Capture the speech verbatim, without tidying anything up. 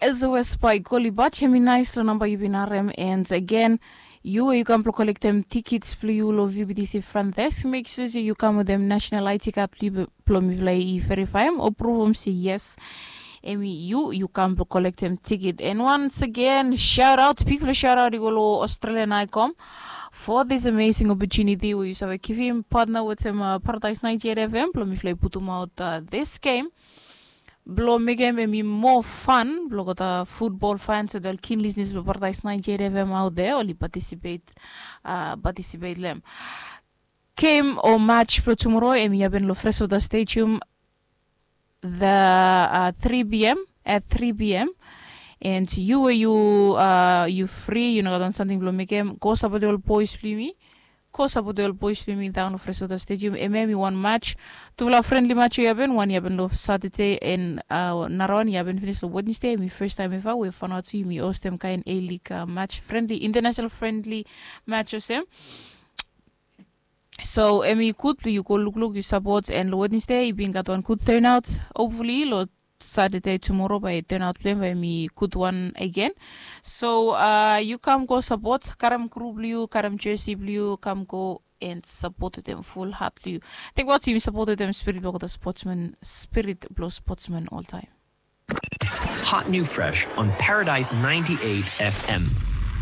As always, by Golly Batch, hemi nais long namba yu bin harem. And again, yu we yu kam blong kolektem tikits blong yu long V B T C front desk, make sure se yu kam wetem national I D card blong yu blong mifala i verifaem o pruvum se yes, hemi yu yu kam blong kolektem tikit. And once again, shout out, bigfala shout out i go long Australian Icom for this amazing opportunity we yu save givim partner wetem uh, Paradise ninety-eight F M blong mifala i putumaot uh, this game blong mekem hemi moa fan blong gota futbol fans o del kin lisnis blong Paradise ninety-eight F M out there oli participate uh, participate lem. Game o match blong tumoro hemi happen long Freshwater Stadium the uh, three p.m. at three p.m. And yu we yu uh, yu free, yu no gat wan samting blong mekem, go sapotem ol boys blong yumi. Go sapotem ol boys blong yumi daon long Freshwater Stadium. Hemia hemi wan match, tufala friendly match i happen. Wan i happen long Saturday and uh, narawan i happen finis long Wednesday. Hemi first time eva we fanaot tu yumi hostem kaen A-League uh, match, friendly, international friendly match olsem. So hemi gud blong yu go lukluk, yu sapot, and long Wednesday i bin gat wan gud turnout. Hopefully long Saturday tumoro bae turnout blong hem bae hemi gud wan again. So uh, yu kam go sapot, karem group blong yu, karem jersey blong yu, kam go and sapot wetem full heart blong yu. Tingbaot yumi sapot wetem spirit blong gota sportsman, spirit blong sportsman oltaem. Hot new fresh on Paradise ninety-eight F M.